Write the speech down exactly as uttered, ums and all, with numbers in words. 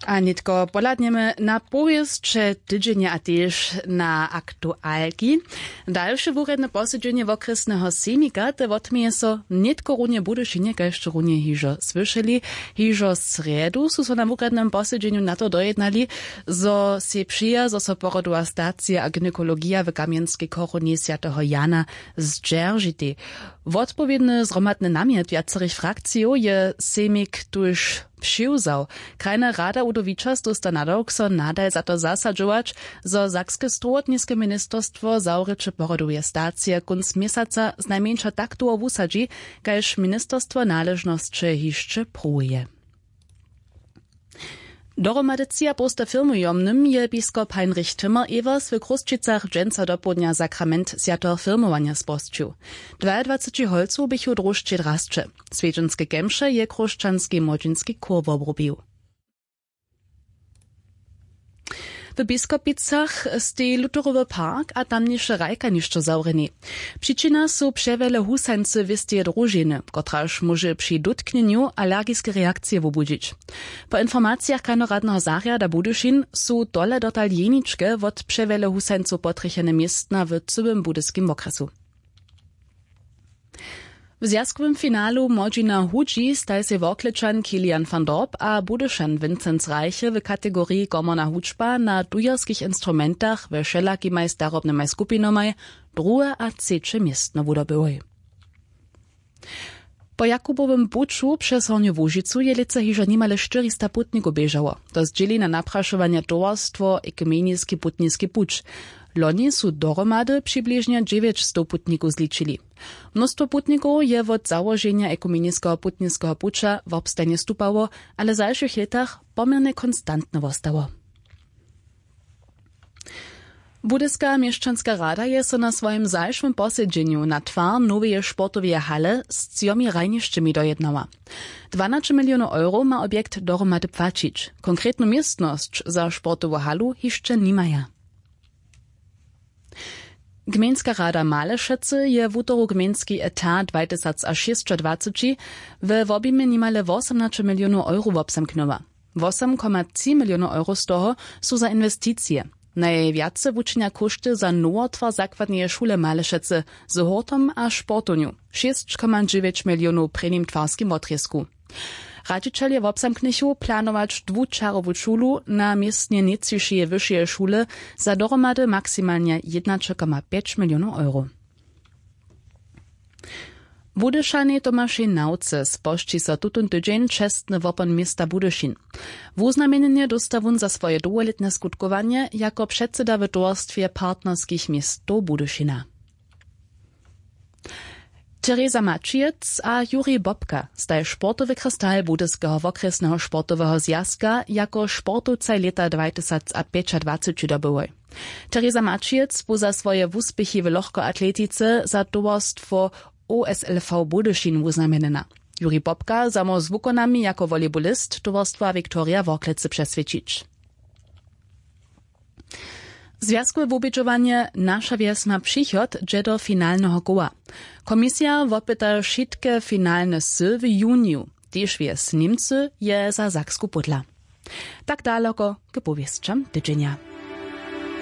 A nětko pohladnjemy na powěsće tydźenja a tež na aktualki. Dalše wurjedne posedźenje wokrjesneho sejmika te wotměje so nětko runje w budyšinje, kaž runje hižo słyšeli. Hižo srjedu su so na wurjednym posedźenju na to dojednali, zo sej přeja zo so porodowa stacija a gynekologija w kamjenskej chorowni swjateho jana zdźeržitej. Wotpowědny zhromadny namjet wjacerych frakcijow je sejmik tuž přiwzał. Krajna rada udowičas dósta nadawk so nadal za to zasadźować, zo sakske strowotniske ministerstwo zawrěće porodoweje stacije kónc měsaca znajmjeńša tak dołho wusadźi, kaž ministerstwo naležnosće hišće pruwuje. Dohromady třiapołsta firmujomnym je biskop heinrich timmer evers w chrósćicach dźensa dopołdnja sakrament swjateho firmowanja spožčił. Dwaadwaceći holcow běchu w dróždźej drasće. Swjedźenske kemše je chróšćanski młodźinski chór wobrubił. W biskopicach stej lutherowy park a tamniše hrajkanišćo zawrjeni. Přičina su přewjele husańcy wěsteje družiny, kotraž móže při dótknjenju alergiske reakcije wobudźić. Po informacijach krajnoradneho zarjada budyšin su tole dotal jeničke wot přewjele husańcow potrjechene městna w cyłym budyskim wokrjesu. W zwjazkowym finalu młodźina hudźi staj sej worklečan kilian van dorp a budyšan vincenc reiche w kategoriji komorna hudźba na dujerskich instrumentach we wšelakimaj starobnymaj skupinamaj druhe a třeće městno wudobyłoj. Po jakubowym puću přez hornju łužicu je lětsa hižo nimale štyrista putnikow běžało. To zdźěli na naprašowanje towarstwo ekumeniski putniski puć. Loni su dohromady přibližnje dźewjećstow putnikow zličili. Mnóstwo putnikow je wot załoženja ekumeniskeho putniskeho puća wobstajnje stupało, ale w zašłych lětach poměrnje konstantne wostało. Budyska měšćanska rada je so na swojim zašłym posedźenju na twar noweje sportoweje hale z třomi hrajnišćemi dojednała. Dwanaće milionow euro ma objekt dohromady płaćić. Konkretnu městnosć za sportowu halu hišće nimaja. Gmejnska rada malešecy je wutoru gmejnski etat dwajtysacašěsćadwaceći we wobjimje nimale wosomnaće milionow euro wobzamknyła. Wosomkomatři milionow euro z toho su za inwesticije. Najwjace wučinja kóšty za nowotwar zakładneje šule malešecy z hórtom a sportownju, šěsćkomadźewjeć milionow w prěnim twarskim wotrězku. Radźićelje wobzamknychu planować dwučarowu šulu na městnje nětřišeje wyšeje šule za dohromady maksimalnje jednaćekoma pjeć milionow euro. Budyšanej tomašej nawce spožči so tutón tydźeń čestny wopon města budyšin. Wuznamjenjenje dósta wón za swoje dołholětne skutkowanje jako předseda w towarstwje partnerskich městow budyšina. Tereza Maćijec a Jurij Bobka staj sportowy kristal budyskeho wokrjesneho sportoweho zwjazka jako sportowcaj lěta dwajtysacapjećadwaceći dobyłoj. Tereza Maćijec bu za swoje wuspěchi w lochkoatletice za towarstwo O S L V Budyšin wuznamjenjena. Jurij Bobka za mor z wukonami jako volejbolist towarstwa Viktoria Worklecy přeswědčić. Zwjazkowe wubědźowanje Naša wjes ma přichod dźe do finalneho koła. Komisija wopyta wšitke finalne sy w juniju. Tež wjes Němcy je za Saksku pódla. Tak daloko k powěsćam tydźenja.